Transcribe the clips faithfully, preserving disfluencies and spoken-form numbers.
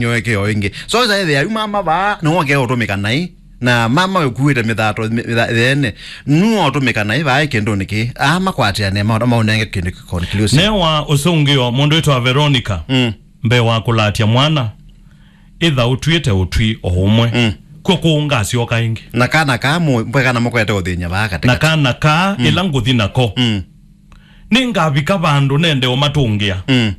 nyoeke o ĩngĩ. So, sa ĩthĩa yu mama vaa, nĩwe ũkea ũtũmĩka naĩ. Na mama ũkuĩte mĩthato, mĩtha-, ĩtheene. Nũũ ũtũmĩka naĩ vaa kĩndũnĩ kĩĩ. Aa makwatĩane, ma-, maũnenge kĩndũ kĩ conclusive. Newa ũsũngĩo, mũndũ wĩtwa Veronica, Mm. mbee wa kũlatya mwana, ĩtha ũtw'ĩte ũtwi o ũmwe. Mm. Kw'o kũu ngasyoka ĩngĩ. Na kana kaa mũ-, mbwe kana mũkwete ũthĩny'a vaa katĩ Na katĩ. kana kaa Mm. ĩla ngũthi nako. Mm. Nĩngavika vandũ nende ũmatũngĩa. Mm.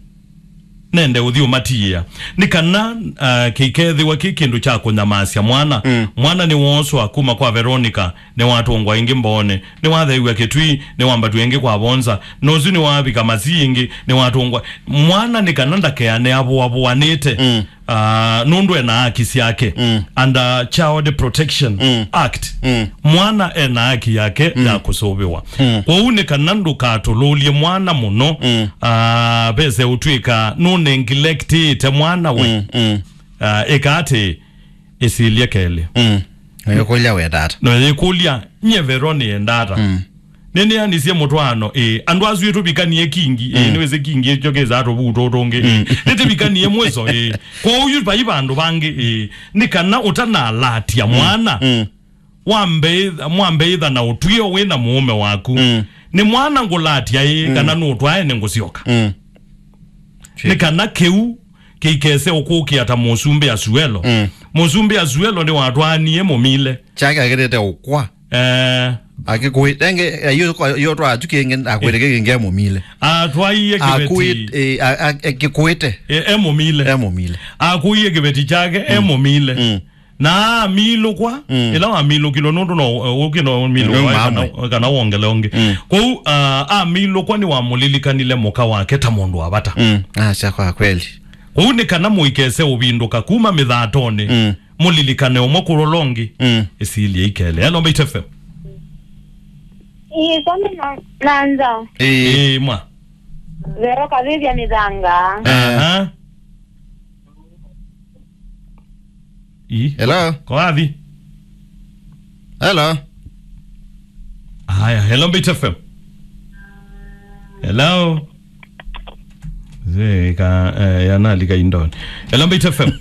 Nende ũthi ũmatiĩa. Nĩ kana, ah, kĩikethĩwa kĩ kĩndũ kya kũnyamasya mwana. Mm. Mwana nĩwooswa kuma kwa Veronica, nĩwatũngwa ĩngĩ mboone, nĩwatheew'a kĩtwi, nĩwambatw'a ĩngĩ kwa vonza, na ũsu nĩwavika Masii ĩngĩ, nĩwatũngwa. Mwana nĩ kana ndakeane avũavũanĩte. Mm. Ah, nũndũ ena haki syake Mm. under Child Protection Mm. Act. Mm. Mwana ena haki yake Mm. ya kũsũvĩwa. Mm. Kwoou nĩ kana ndũkatũlũlye mwana mũno, Mm. ah, vese ũtw'ĩka nũnengilektĩte mwana we. Mm. Mm. Ah, ĩka atĩ, ĩsilye kelĩ. Mm. Nĩyĩkũlya wenda ata? No yĩkũlya, nyie Vero nĩenda ata? Mm. Nĩnĩanisye mũtwaano, ĩĩ. Andũ asu ĩtũvikanie kingi, ĩĩ. Mm. Nĩwĩsĩ kingi ĩkyo kĩsaa tũvuu tũtũngĩ, ĩĩ. Mm. Nĩtũvikanie mwĩso, ĩĩ. Kwoou yu vai vandũ vangĩ, ĩĩ. Nĩ kana ũtanalatya Mm. mwana, Mm. wambe ĩtha, mwambe ĩtha na ũtw'ĩo wĩ na mũũme waku. Mm. Nĩ mwana ngũlatya, ĩĩ, Mm. kana nũtwae nĩ ngũsyoka. Mm. Nĩ kana kĩu kĩikese ũkũkĩa ta mũsumbĩ Asuelo. Mm. Mũsumbĩ Asuelo nĩwatwaanie mũmile. Kyake akĩtĩte ũkwa. Eh. Akĩkũĩ-, enge, eh, yo, yo twa atu kĩngĩ, akwĩte kĩngĩ mũmile. Atwaie kĩveti. Akũĩ-, eh, a-, a-, akĩkũĩte. E, e mũmile. E mũmile. Akũie kĩveti kyake, e Mm. mũmile. Mm. Na amilũkwa, Mm. ĩla wamilũkilwe nũndũ no, eh, ũkĩ no milũkwa, Mm, kana, mamwe. kana wongele ũngĩ. Mm. Kwoou, ah, amilũkwa nĩwamũlilikanile mũka wake ta mũndũ wa vata. Mm. Ah, sya kwa kweli. Kwoou nĩ kana mũikese ũvindũka kuma mĩthatonĩ, Mm. mũlilikane ũmwe kũlola ũngĩ, Mm. ĩsilye ikele. Hello, Mbaitu F M. Ĩĩ, kwani na, na nza. Ĩĩ. Ĩĩ, mwa. Vero kavĩvya mĩthanga. Aha. Ĩĩ. Hello? Ko wathi? Hello? Aya, hello, Mbaitu F M. Hello? Zeka, eh, yanalika indoni. Hello, Mbaitu F M.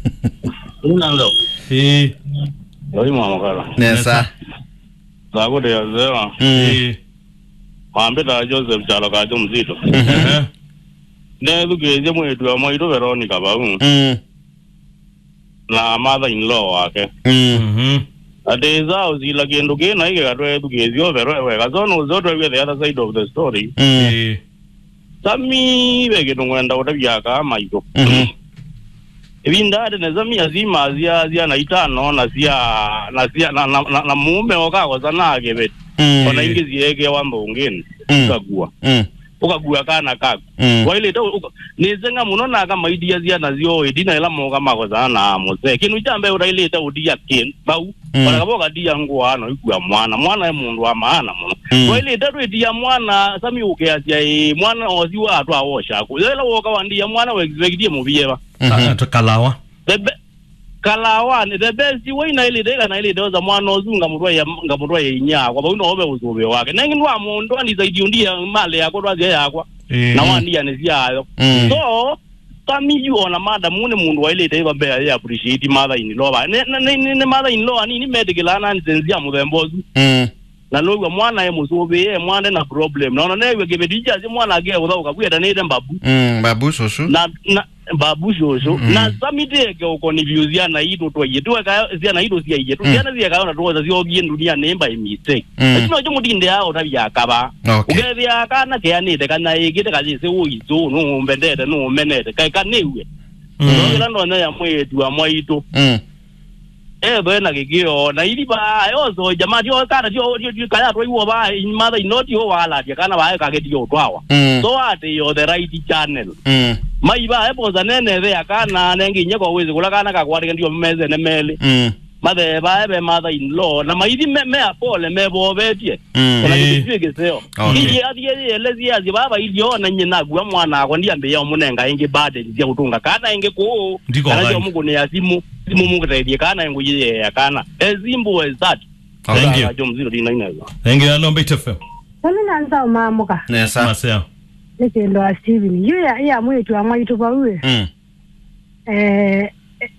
Unalo. Eh. Yoi mwa makala. Nesa. Nesa. Zakuti ya zewa. Mm. Eh. Mambita Joseph Chalo Kajo Mzito. Mhm. Ehe. Nethukĩĩsye mwĩĩtu wa mwaitũ Veronica vau. Mm. Na mother in law wake. Mm. Mhm. Atĩ ĩsa ũsila kĩndũ kĩ naĩ kĩkatwethukĩĩsya ũvero weka. So nũseo twew'e the other side of the story. Mm. Ĩĩ. Sami, ve kĩndũ ngwenda ũtavya aka maitũ. Mhm. Ĩvinda atĩ na Sami asima sya syana itano na sya, na sya, na, na, na, na mũũme okakosa na kĩveti. Mm. Ona ingĩ syeekewa mbũngĩnĩ. Mm. Ũkakua. Mm. Ũkakua kana kaku. Mm. Wailĩte ũ-, ũka-, nĩseng'a mũno na akamaitia syana syoo ĩtina ĩla moka makosana na mũsee. Kĩndũ kya mbee ũtailĩte ũtia kĩndũ vau. Mm. Ona kava ũkatia ngũa no ikua mwana. Mwana e mũndũ wa maana mũno. Mm. Wailĩte twĩtia mwana, Sami ũkeasya, ĩĩ, mwana osi wa atwa wosha kũ. Yo ĩla woka wandia mwana we expectie mũvieva. Mhm. Ah, tũkalawa. The be-, kalawanĩ, the best way naĩlĩte, ĩla naĩlĩte osa mwana ũsu ngamũtwaĩa, ngamũtwaĩa inyia akwa. Vau no ve ũsũvĩo wake. Nengi ndwa mũndũ andisaidi ũndia mali yakwa twasya yakwa. Ĩĩ. Na wandia nĩ syayo. Mm. So, Sami yu ona madam nĩ mũndũ waĩlĩte ĩva mbea yĩ appreciate mother in law. Nĩ, nĩ, nĩ, nĩ, nĩ mother in law anini metĩkĩlaa nonsense ya mũthemba ũsu. Mm. Na now'a mwana e mũsũvĩe, e mwande na problem. Na ona new'a kĩveti kyasya mwana ake ũthaũka kwĩetanĩte mbabu. Mm, mbabu cũcũ. Na, na, mbabu cũcũ. Mm. Na Sami tĩeke ũkonifyũ syana itũ twaie. Tuweka syana itũ syaie. Tu Mm. syana syekayo na tuosa syokie ndunia nĩ by mistake. Mm. Lakini ojo mũtinde ya ũtavya akava. Okay. Ũkethĩa kana keanĩte kana ĩkĩte kayĩse ũitũ, nũũmbendete, nũũmenete. Kaĩ kanĩw'e. Mm. Nokĩla ndonya ya mwĩĩtu wa mwaitũ. Mm. Ethwe na kĩkĩo, na ithi vaa, yoso, jamaa, tio kana, tio, tio, tio, kaya twaiwo vaa, in mother in law, tio walatia kana vaa, kagetie ũtwawa. Mm. So ati yo the right channel. Mm. Mai vaa, eposa nene, ve akana, nengi nye kwa wezi, kula kana kakwatike ndio meze ne meli. Mm. Mathe vaa, ve mother in law, na maithi me, me apole, me vovetie. Mm. Ona Eh. kĩndũ kĩu kĩseo. Okay. Iye athi yelezi athi baba ilio na nyina gua mwana akwa ndiambia ũmũnenga ĩngĩ burden cia gũtũnga kana ĩngĩ kũũ. Ndiko kana cio right. Mũkũnĩa simũ, simũ mũkũteithie kana ĩngũ yĩyea kana. As simple as that. Okay. Thank you. Ajo mzito dina inaweza. Thank you. Hello, Mbaitu F M. Nani nanza umamuka? Nesa. Maseo. Nĩ kĩndũ wa Steven. Yu ya, ya mwĩĩtu wa mwaitũ vau ĩ. Mm. Eh,